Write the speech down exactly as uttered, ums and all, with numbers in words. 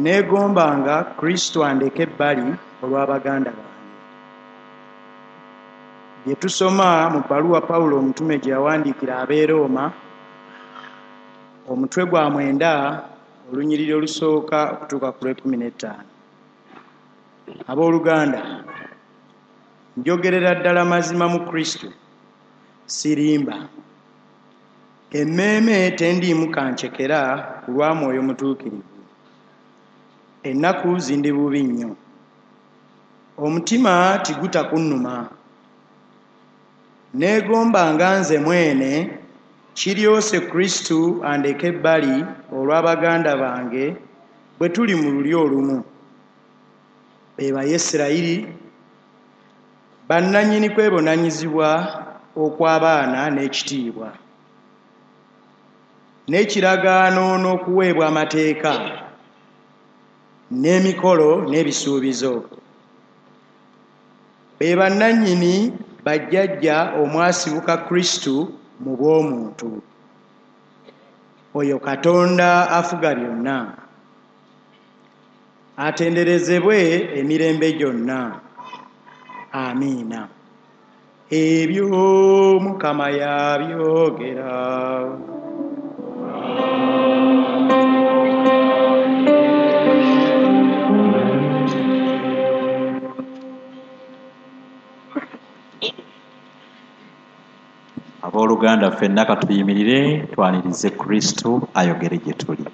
Neegombanga Kristo andeke ebbali olw'abaganda bange. Bye tusoma mu bbaluwa Pawulo omutume gye yawandiikira ab'e Rooma, omutwe gwa mwenda, olunyiriri olusooka okutuuka ku lw'ekkumi n'ettaano. Abooluganda, njogerera ddala mazima mu Kristo, sirimba. Emmeeme tendiimu kancekera ku lwa Mwoyo Mutuukirivu. Ennaku zindi bubi nnyo. Omutima tiguta kunnuma. Neegombanga nze mwene kiryose Kristo andeke ebbali olw'abaganda bange bwe tuli mu lulyo olumu. Be Bayisirayiri, bannannyini kwebonanyizibwa okw'abaana n'ekitiibwa, n'ekiragaano n'okuweebwa amateeka, n'emikolo n'ebisuubizo. Be bannannyini bajjajja omwasibuka Kristo mu bw'omuntu. Oyo Katonda afuga byonna, atenderezebwe emirembe gyonna. Amiina. Ebyo Mukama yabyogera. Abooluganda ffenna ka tuyimirire twanirize Kristo ayogere gye tuli.